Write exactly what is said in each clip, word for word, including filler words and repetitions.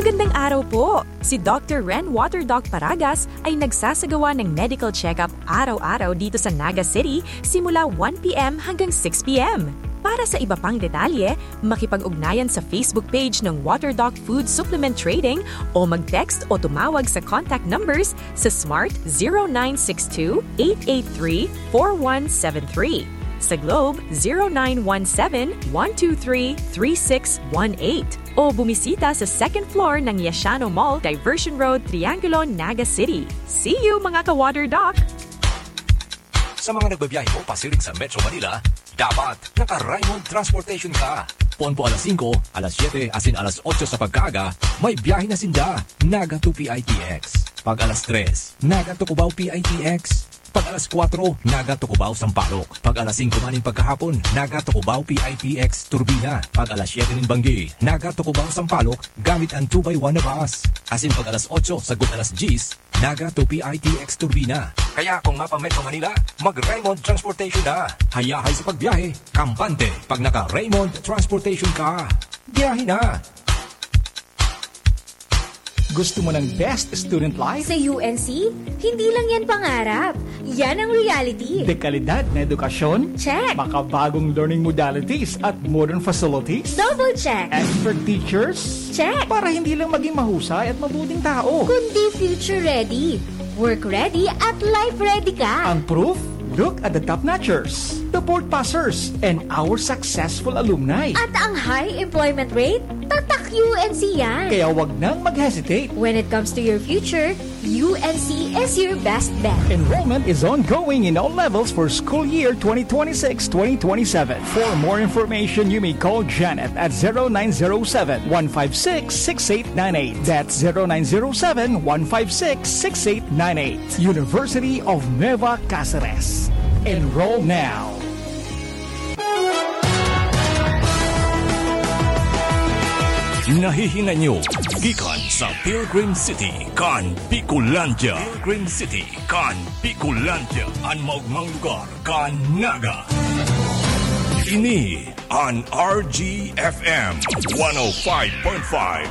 Magandang araw po! Si Doctor Ren Water Doc Paragas ay nagsasagawa ng medical check-up araw-araw dito sa Naga City simula one p m hanggang six p m. Para sa iba pang detalye, makipag-ugnayan sa Facebook page ng Water Doc Food Supplement Trading o mag-text o tumawag sa contact numbers sa Smart zero nine six two, eight eight three, four one seven three, sa Globe zero nine one seven, one two three, three six one eight, o bumisita sa second floor ng Yashano Mall, Diversion Road, Triangulo, Naga City. See you, mga ka-Water Doc! Sa mga nagbabiyahe po pasiring sa Metro Manila, dapat naka-Raymond Transportation ka. Pon po alas singko, alas siyete, asin alas otso sa pagkaaga, may biyahe na sinda. Naga to P I T X. Pag alas tres, Naga to Cubao P I T X. Pag alas kwatro, Naga to Cubao Sampaloc. Pag alas singko man nin pagkahapon, Naga to Cubao P I T X Turbina. Pag alas siyete nin banggi, Naga to Cubao Sampaloc, gamit ang two by one na bus. Asin pag alas otso, sagkod alas dyes, Naga to P I T X Turbina. Kaya kung mapa-Metro Manila, mag-Raymond Transportation na. Hayahay sa pagbiyahe, kampante pag naka-Raymond Transportation ka. Biyahe na! Gusto mo ng best student life? Sa U N C, hindi lang yan pangarap. Yan ang reality. Dekalidad na edukasyon? Check. Makabagong learning modalities at modern facilities? Double check. Expert teachers? Check. Para hindi lang maging mahusay at mabuting tao. Kundi future ready, work ready at life ready ka. Ang proof? Look at the top notchers, the board passers, and our successful alumni. At ang high employment rate? Tatak U N C yan. Kaya wag nang mag-hesitate. When it comes to your future, U N C is your best bet. Enrollment is ongoing in all levels for school year twenty twenty-six twenty twenty-seven. For more information, you may call Janet at zero nine zero seven, one five six, six eight nine eight. That's zero nine zero seven, one five six, six eight nine eight. University of Nueva Caceres. Enroll now. Nahihinay nyo gikan sa Pilgrim City kan Bicolandia. Pilgrim City kan Bicolandia, an maogmang lugar kan Naga. Ini an R G F M one oh five point five,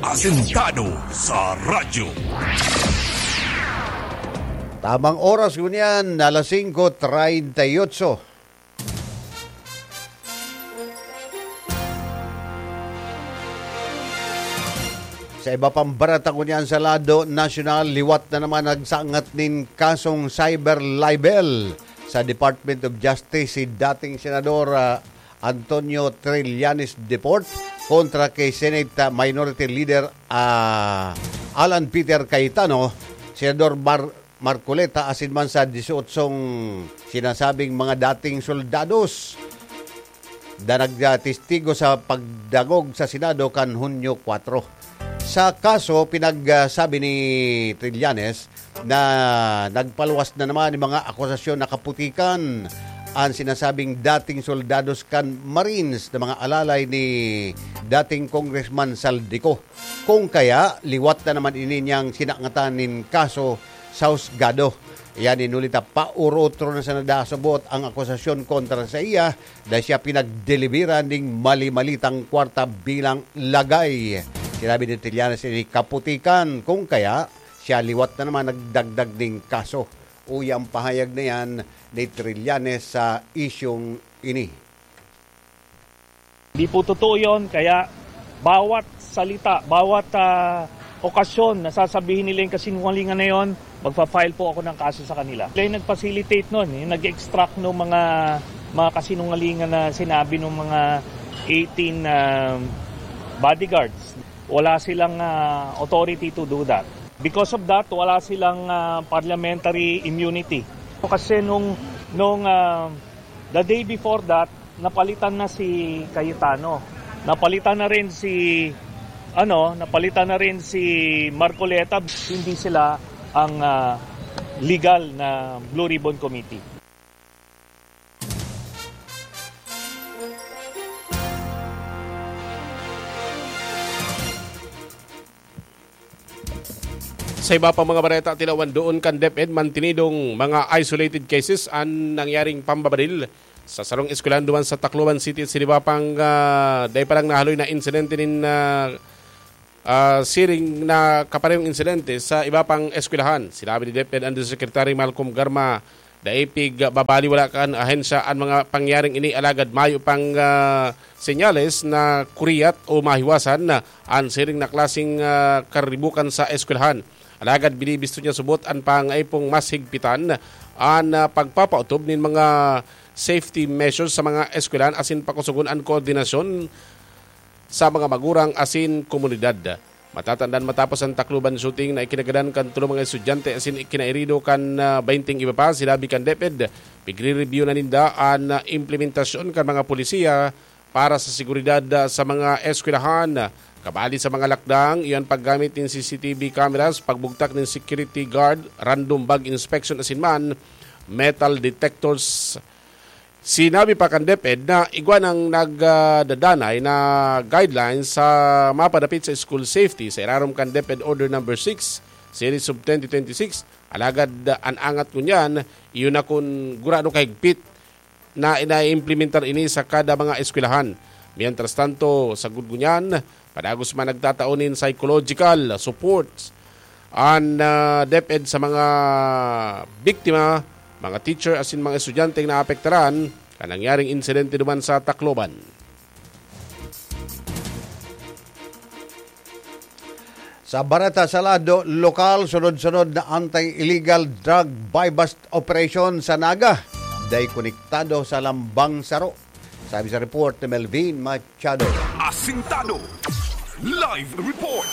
asentado sa radyo. Tamang oras ngunyan, alas singko treinta y ocho. Sa iba pang bareta ngunyan sa lado nasyonal, liwat na naman nagsangat nin kasong cyber libel sa Department of Justice si dating Senador, ah, Antonio Trillanes Deport kontra kay Senate, ah, Minority Leader, ah, Alan Peter Cayetano, Senador Mar-, Marcoleta asin man sa disyotso sinasabing mga dating soldados na nagtestigo sa pagdangog sa Senado kan Hunyo kwatro. Sa kaso, pinagsabi ni Trillanes na nagpaluwas na naman yung mga akusasyon na kaputikan an sinasabing dating soldados kan Marines na mga alalay ni dating Congressman Zaldy Co. Kung kaya, liwat na naman ini niyang sinangatan nin kaso sa husgado. Yan, inuli ta, paurotro na sana dasubot ang akusasyon kontra sa iya na siya pinagdeliveran ning mali-malitang kwarta bilang lagay. Sinabi ni Trillanes ini kaputikan, kung kaya, siya liwat na naman nagdagdag ning kaso. Uya ang pahayag na yan ni Trillanes sa isyung ini. Hindi po totoo yun, kaya bawat salita, bawat, ah, okasyon na sasabihin nila yung kasinungalingan na yon, magfa-file po ako ng kaso sa kanila. Sila yung nag-facilitate nun, yung nag-extract ng mga, mga kasinungalingan na sinabi ng mga eighteen, ah, bodyguards. Wala silang, ah, authority to do that. Because of that, wala silang, ah, parliamentary immunity. Kasi nung, nung, ah, the day before that, napalitan na si Cayetano. Napalitan na rin si, ano, napalitan na rin si Marcoleta. Hindi sila ang, ah, legal na Blue Ribbon Committee. Sa iba pang mga bareta, tilawan doon kan DepEd mantinidong mga isolated cases an nangyaring pambabadil sa sarong eskwelahan duman sa Tacloban City. Sa iba pang, ah, dai pa lang nahaloy na insidente nin, ah, ah, siring na kaparehong insidente sa iba pang eskwelahan. Sinabi ni DepEd Undersecretary Malcolm Garma, "Dai pigbabaliwala kan ahensya an mga pangyaring ini, alagad mayo pang, ah, senyales na kuriyat o mahiwasan na an siring na klaseng, ah, karibukan sa eskwelahan. Alagad binibisto niya subot an pangaipong mas higpitan an, ah, pagpapautob nin mga safety measures sa mga eskwelahan asin pakusugon an koordinasyon sa mga magurang asin komunidad." Matatandaan, matapos ang Tacloban shooting na ikinagadan kan tulo mga estudyante asin ikinairido kan, ah, baynting iba pa, sinabi kan DepEd, pigre-review na ninda an, ah, implementasyon kan mga polisiya para sa seguridad, ah, sa mga eskwelahan. Kabali sa mga lakdang, iyan paggamit nin C C T V cameras, pagbugtak nin security guard, random bag inspection asin man metal detectors. Sinabi pa kan DepEd na igwa nang nagdadanay na guidelines sa mapadapit sa school safety sa irarom kan DepEd Order Number Six, Series of twenty twenty-six. Alagad, ah, an angat ngunyan, iyo na kun gurano kahigpit na inaimplementar ini sa kada mga eskwelahan. Mientras tanto, sagkod ngunyan, padagos man nagtatao nin psychological support an, ah, DepEd sa mga biktima, mga teacher asin mga estudyanteng naapektaran kan nangyaring insidente duman sa Tacloban. Sa bareta sa lado lokal, sunod-sunod na anti-illegal drug buy-bust operation sa Naga. Dai konektado sa lambang saro. Sabi sa report ni Melvin Machado. Asintado. Live report.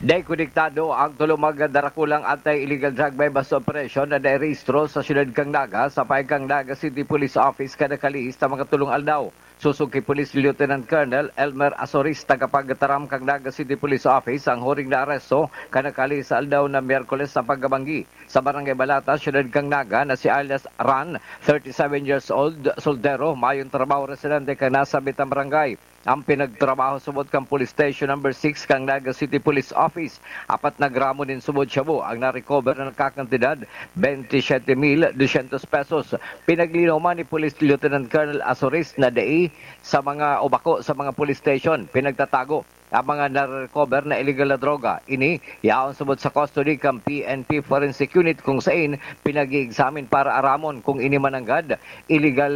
Dai konektado ang tulo magdarakulang anti-illegal drug buy-bust operation na nairehistro sa siyudad kan Naga sa paeg kan Naga City Police Office kan nakalihis na mga tulong aldaw. Sosog ki Police Lieutenant Colonel Elmer Asoris, tagapagtaram kan Naga City Police Office, ang huring naaresto kan nakalihis na aldaw na Miyerkules na pagkabanggi sa Barangay Balata, siyudad kan Naga, na si alias Ran, thirty-seven years old, soldero, mayong trabaho, residente kan nasabitang barangay. Ang pinagtrabaho subot kan Police Station Number Six kan Naga City Police Office. Apat na gramo nin subot shabu ang na-recover na nagkakantidad twenty-seven mil doscientos pesos. Pinaglinaw man ni Police Lieutenant Colonel Asoris na dai sa mga o bako sa mga police station pinagtatago ang mga na-recover na illegal na droga. Ini yaon subot sa custody kan P N P Forensic Unit, kung sain pinag-i-examine para aramon kung ini mananggad illegal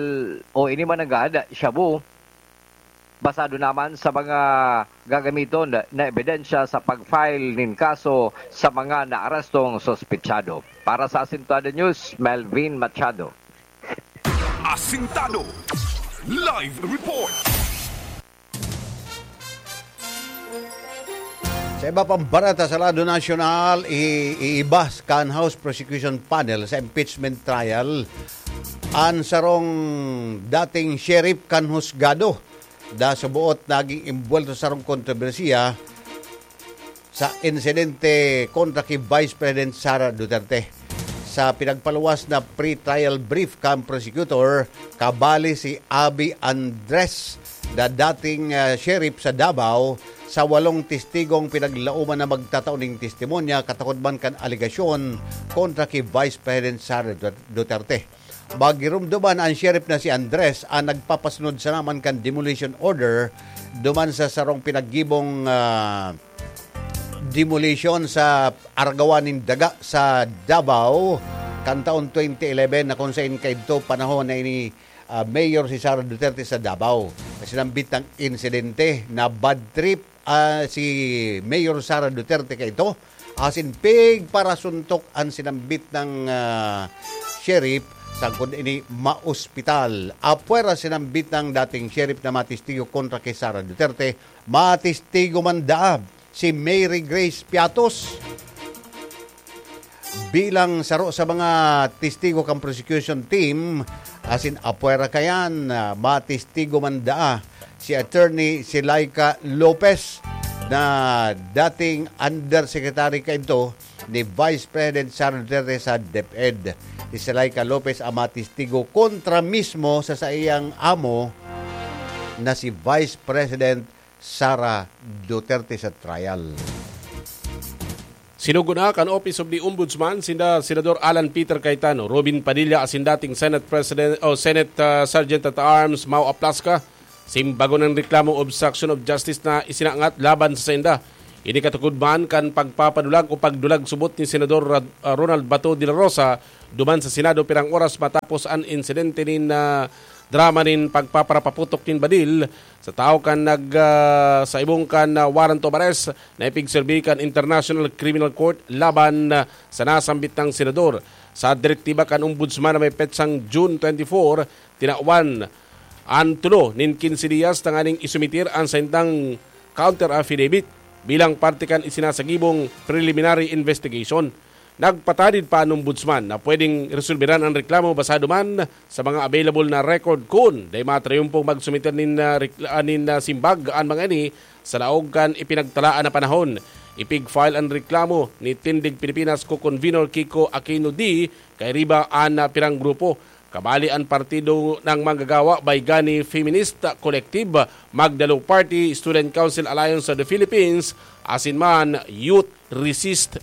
o ini mananggad shabu. Basado naman sa mga gagamiton na ebidensya sa pag-file nin kaso sa mga naarestong suspitsado. Para sa Asintado News, Melvin Machado. Asintado. Live report. Sa iba pang bareta sa lado nasyonal, i-, iibas kan House Prosecution Panel sa impeachment trial an sarong dating sheriff kan husgado na suboot naging imbuwelto sa sarong kontrobersiya sa insidente kontra ki Vice President Sara Duterte. Sa pinagpaluwas na pre-trial brief kan prosecutor, kabali si Abby Andres na dating, ah, sheriff sa Davao, sa walong testigong pinaglaoman na magtatao nin testimonya katakod man kan alegasyon kontra ki Vice President Sara Duterte. Magirumdoman an sheriff na si Andres an nagpapasunod sana man kan demolition order duman sa sarong pinaggibong, ah, demolition sa Aragawan nin Daga sa Davao kan taon twenty eleven, na kung sain kaidto panahon na ini, ah, mayor si Sara Duterte sa Davao. Sinambit na insidente na bad trip, ah, si Mayor Sara Duterte kaidto, asin pigparasuntok an sinambit na, ah, sheriff sagkod ini maospital. Apwera sinambit na dating sheriff na matestigo kontra ki Sara Duterte, matestigo man daa si Mary Grace Piatos bilang saro sa mga testigo kan prosecution team, asin apwera kayan, ah, matestigo man daa si Attorney Silaika Lopez na dating undersecretary kaidto ni Vice President Sara Duterte sa DepEd. Si Silaika Lopez ang matestigo kontra mismo sa saiyang amo na si Vice President Sara Duterte sa trial. Sinugo na kan Office of the Ombudsman sinda Senador Alan Peter Cayetano, Robin Padilla asin dating Senate President o Senate, ah, Sergeant at Arms Mau Aplasca Simbagon ang reklamo, obstruction of justice na isinangat laban sa sainda. Ini katukod man kan pagpapadulag o pagdulag subot ni Senador Rad-, ah, Ronald Bato de la Rosa duman sa Senado pirang oras matapos an insidente nin, ah, drama nin pagpaparapaputok nin badil sa tawo kan nag, ah, sa ibong kan, ah, warrant of arrest na ipigserbi kan International Criminal Court laban, ah, sa nasambit nang senador. Sa direktiba kan Ombudsman na may petsang June twenty-four, tinawan an tulo nin quince diyas tanganing isumitir an saindang counter affidavit bilang parte kan isinasagibong preliminary investigation. Nagpatadid pa an Ombudsman na pwedeng resolberan an reklamo basado man sa mga available na record kun dai matrayumpong magsumiter nin, ah, rekla-, ah, nin, ah, simbag an mga ini sa laog kan ipinagtalaan na panahon. Ipig-file an reklamo ni Tindig Pilipinas co-convenor Kiko Aquino D. Kay riba an, ah, pirang grupo. Kabali an Partido ng Manggagawa, Baygani Feminist Collective, Magdalo Party, Student Council Alliance of the Philippines, asin man Youth Resist